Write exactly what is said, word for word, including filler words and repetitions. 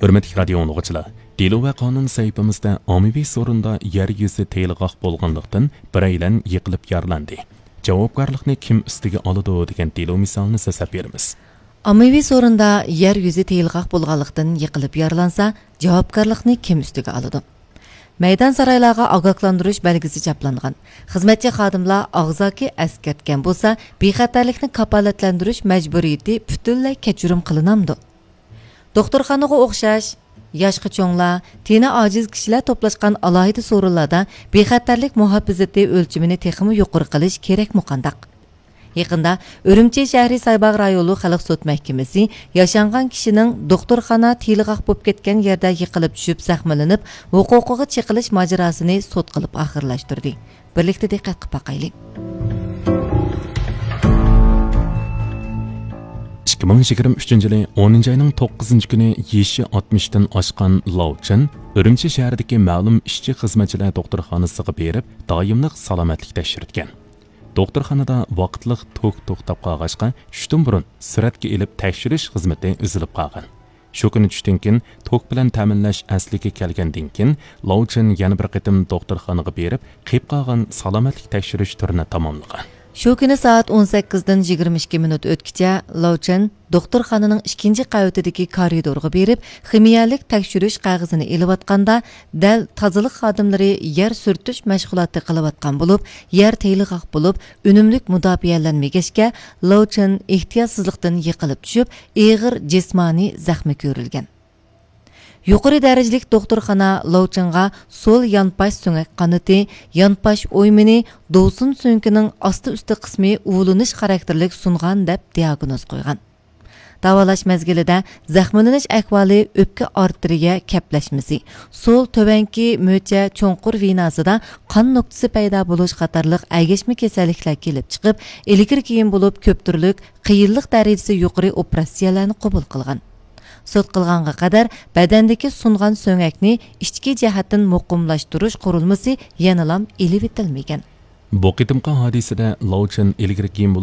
ھۆرمەتلىك رادىيو ئاڭلىغۇچىلار، دېلو ۋە قانۇن سەھىپىمىزدە ئاممىۋى سورۇندا يەر يۈزى تېيىلغاق بولغانلىقتىن، بىرەيلەن يىقىلىپ يارىلاندى. جاۋابكارلىقنى كىم ئۈستىگە ئالىدۇ دېگەن دېلو مىسالىنى سۆزلەپ بېرىمىز. ئاممىۋى سورۇندا يەر يۈزى تېيىلغاق بولغانلىقتىن يىقىلىپ يارىلانسا، جاۋابكارلىقنى كىم ئۈستىگە ئالىدۇ؟ مەيدان سارايلارغا ئاگاھلاندۇرۇش بەلگىسى چاپلانغان، خىزمەتچى خادىملار ئاغزاكى ئەسكەرتكەن بولسا، بىخەتەرلىكنى كاپالەتلەندۈرۈش مەجبۇرىيىتى پۈتۈنلەي كەچۈرۈم قىلىنامدۇ؟ دوختۇرخانىغا ئوخشاش، ياشقا چوڭلار، تېنى ئاجىز كىشىلەر توپلاشقان ئالاھىدە سورۇنلاردا بىخەتەرلىك مۇھاپىزىتى ئۆلچىمىنى تېخىمۇ يۇقىرى قىلىش كېرەكمۇ قانداق؟ يېقىندا ئۈرۈمچى شەھىرى سايباغ رايونلۇق خەلق سوت مەھكىمىسى ياشانغان كىشىنىڭ دوختۇرخانا تېيىلغاق بولۇپ كەتكەن يەردە يىقىلىپ چۈشۈپ زەخىملىنىپ، ھوقۇقىغا چېقىلىش ماجىراسىنى سوت قىلىپ ئاخىرلاشتۇردى. بىرلىكتە دىققەت قىلىپ باقايلى. ئىككى مىڭ يىگىرمە ئۈچىنچى يىلى ئونىنچى ئاينىڭ توققۇزىنچى كۈنى يېشى ئاتمىشتىن ئاشقان لاۋ چېن ئۈرۈمچى شەھىرىدىكى مەلۇم ئىشچى خىزمەتچىلەر دوختۇرخانىسىغا بېرىپ، دائىملىق سالامەتلىك تەكشۈرتكەن. دوختۇرخانىدا ۋاقىتلىق توك توختاپ قالغاچقا، چۈشتىن بۇرۇن سۈرەتكە ئېلىپ تەكشۈرۈش خىزمىتى ئۈزۈلۈپ قالغان. شۇ كۈنى چۈشتىن كېيىن توك بىلەن تەمىنلەش ئەسلىگە كەلگەندىن كېيىن، لاۋ چېن يەنە بىر قېتىم دوختۇرخانىغا بېرىپ، قېلىپ قالغان سالامەتلىك تەكشۈرۈش تۈرىنى تاماملىغان. شۇ كۈنى سائەت ئون سەككىزدىن يىگىرمە ئىككى مىنۇت ئۆتكىچە لاۋ چېن دوختۇرخانىنىڭ ئىككىنچى قەۋىتىدىكى كارىدورغا بېرىپ، خىمىيەلىك تەكشۈرۈش قەغىزىنى ئېلىۋاتقاندا، دەل تازىلىق خادىملىرى يەر سۈرتۈش مەشغۇلاتى قىلىۋاتقان بولۇپ، يەر تېيىلغاق بولۇپ، ئۈنۈملۈك مۇداپىئەلەنمىگەچكە، لاۋ چېن ئېھتىياتسىزلىقتىن يىقىلىپ چۈشۈپ، ئېغىر جىسمانىي زەخمى كۆرۈلگەن. يۇقىرى دەرىجىلىك دوختۇرخانا لاۋ چېنغا سول يانپاش سۆڭەك قانىتى، يانپاش ئويمىنى، دوۋسۇن سۆڭىكىنىڭ ئاستى ئۈستى قىسمى ئۇۋۇلىنىش خاراكتېرلىك سۇنغان دەپ دىئاگنوز قويغان. داۋالاش مەزگىلىدە زەخىملىنىش ئەھۋالى ئۆپكە ئارتېرىيە كەپلەشمىسى، سول تۆۋەنكى مۆچە چوڭقۇر ۋېناسىدا قان نۇقتىسى پەيدا بولۇش قاتارلىق ئەگەشمە كېسەللىكلەر كېلىپ چىقىپ، ئىلگىرى كېيىن بولۇپ كۆپ تۈرلۈك قىيىنلىق دەرىجىسى يۇقىرى ئوپېراتسىيەلەرنى قوبۇل قىلغان. سوت قىلغانغا قەدەر بەدەندىكى سۇنغان سۆڭەكنى ئىچكى جەھەتتىن مۇقىملاشتۇرۇش قۇرۇلمىسى يەنىلام ئېلىۋېتىلمىگەن. بۇ قېتىمقى ھادىسىدە لاۋ چېن ئىلگىرى كېيىن بولۇپ